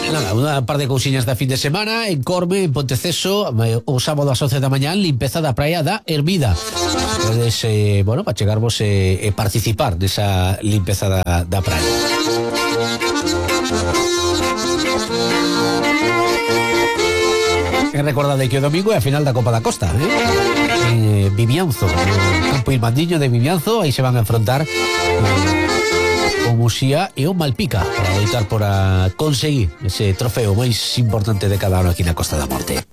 Nada, unha par de cousiñas da fin de semana. En Corme, en Ponteceso, o sábado ás 11 da mañán, limpeza da praia da Hermida. Podes, bueno, para chegarvos e participar desa limpeza da praia. E recordade que o domingo é a final da Copa da Costa, Vimianzo, Campo Irmandiño de Vimianzo. Aí se van a enfrontar o Muxía e o Malpica para loitar por a conseguir ese trofeo máis importante de cada ano aquí na Costa da Morte.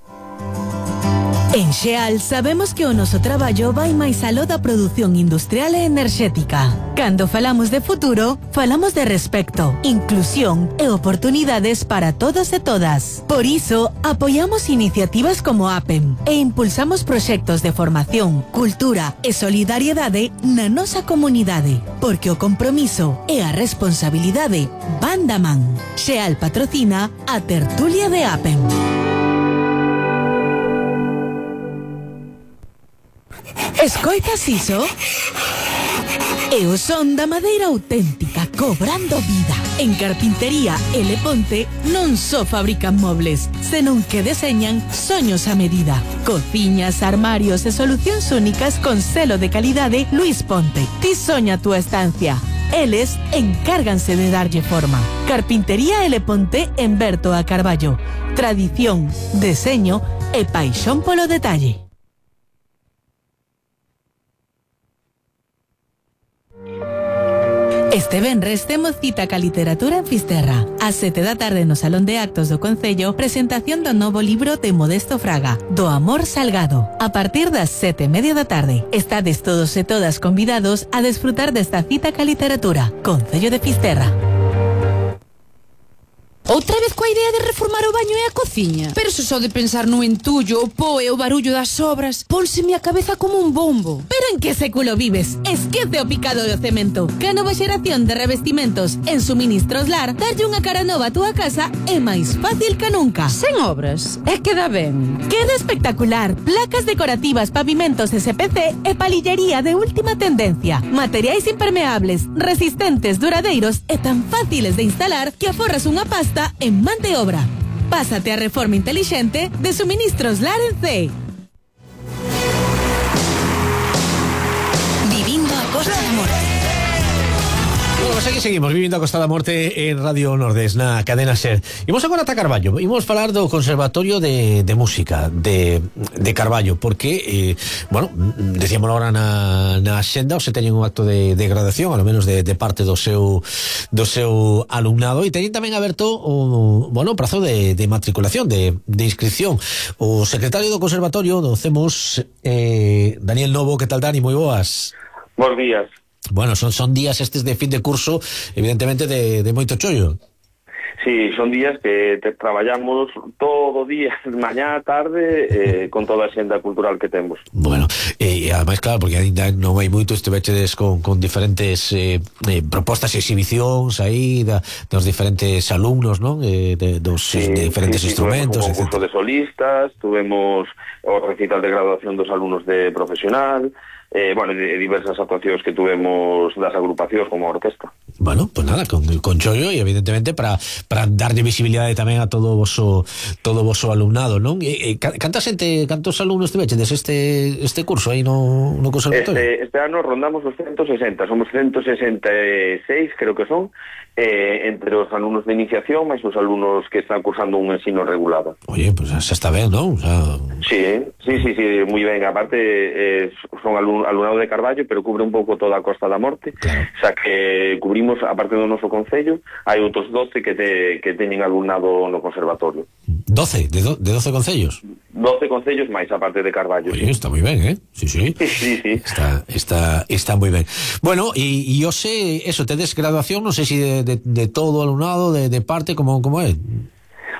En Xeal sabemos que o noso traballo vai máis aló da produción industrial e enerxética. Cando falamos de futuro, falamos de respecto, inclusión e oportunidades para todos e todas. Por iso, apoiamos iniciativas como APEM e impulsamos proxectos de formación, cultura e solidariedade na nosa comunidade, porque o compromiso e a responsabilidade van da man. Xeal patrocina a tertulia de APEM. Escoitas iso? É o son da madeira auténtica cobrando vida. En Carpintería L. Ponte non só fabrican mobles, senón que deseñan soños a medida. Cociñas, armarios e solucións únicas con selo de calidade Luis Ponte. Ti soña a túa estancia. Eles encárganse de darlle forma. Carpintería L. Ponte en Berto a Carballo. Tradición, deseño e paixón polo detalle. Este venres temos cita ca literatura en Fisterra. Ás 7 da tarde no Salón de Actos do Concello, presentación do novo libro de Modesto Fraga, Do amor salgado. A partir das 7:30 da tarde. Estades todos e todas convidados a desfrutar desta cita ca literatura. Concello de Fisterra. Outra vez coa idea de reformar o baño e a cociña? Pero se só de pensar no entullo, o pó e o barullo das obras, pónseme a cabeza como un bombo. Pero en que século vives? Esquece o picado do cemento. Que a nova xeración de revestimentos en Suministros Lar darlle unha cara nova a túa casa é máis fácil que nunca. Sen obras, é que dá ben. Queda espectacular. Placas decorativas, pavimentos SPC e palillería de última tendencia. Materiais impermeables, resistentes, duradeiros e tan fáciles de instalar que aforras unha pasta en man de obra. Pásate a reforma inteligente de Suministros Lar en C. Vivindo a Costa da Morte. Bueno, pues aquí seguimos vivindo a Costa da Morte en Radio Nordés, na cadena SER. Imos agora ata Carballo. Imos falar do Conservatorio de Música de Carballo, porque, bueno, decíamos agora na xenda, se teñen un acto de graduación, ao menos de parte do seu alumnado, e teñen tamén aberto o prazo de matriculación, de inscripción. O secretario do Conservatorio do CEMUS, Daniel Novo. Que tal, Dani? Moi boas. Bos días. Bueno, son días estes de fin de curso, evidentemente de moito chollo. Sí, son días que traballamos todo o día, mañá, tarde, con toda a xenda cultural que temos. Bueno, e ademais, claro, porque ainda non hai moito, estivechedes con diferentes propostas e exhibicións aí dos diferentes alumnos, non? Dos diferentes instrumentos, tuvemos un concurso de solistas, tuvemos o recital de graduación dos alumnos de profesional, de diversas actuacións que tuvemos das agrupacións como a orquesta. Bueno, pues nada, con chollo, e evidentemente para darlle visibilidade tamén a todo o voso alumnado, non? Cantos alumnos tiveches este curso aí no conservatorio? Este ano rondamos os 160, somos 166, creo que son, entre os alumnos de iniciación máis os alumnos que están cursando un ensino regulado. Oye, pues xa está ben, non? O sea... Sí, moi ben. Aparte, son alumnado de Carballo, pero cubre un pouco toda a Costa da Morte. Claro. O sea que cubrimos, aparte do noso concello, hai outros 12 que teñen alumnado no conservatorio. 12? De 12 concellos? 12 concellos máis, aparte de Carballo. Oye, está moi ben, Sí. Sí. Está moi ben. Bueno, e hoxe, eso, tedes graduación, non sei se de todo o alumnado, de parte, como é?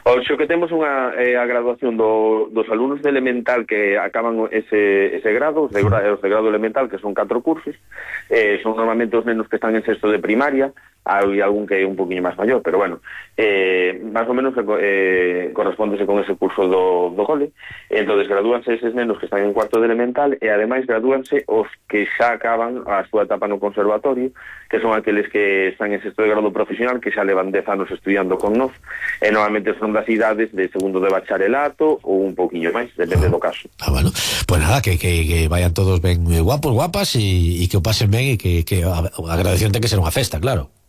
Oxo que temos a graduación dos alumnos de elemental que acaban ese grado, os de grado elemental, que son 4 cursos, son normalmente os nenos que están en sexto de primaria, hai algún que é un poquinho máis maior, pero bueno, máis ou menos correspóndese con ese curso do cole. Entonces gradúanse eses nenos que están en cuarto de elemental e ademais gradúanse os que xa acaban a súa etapa no conservatorio, que son aqueles que están en sexto de grado profesional, que xa levan 10 anos estudiando con nós, e normalmente son das idades de segundo de bacharelato ou un poquinho máis, depende do caso. Bueno, pues nada, que vayan todos ben guapos, guapas e que o pasen ben e que a graduación ten que ser unha festa, claro.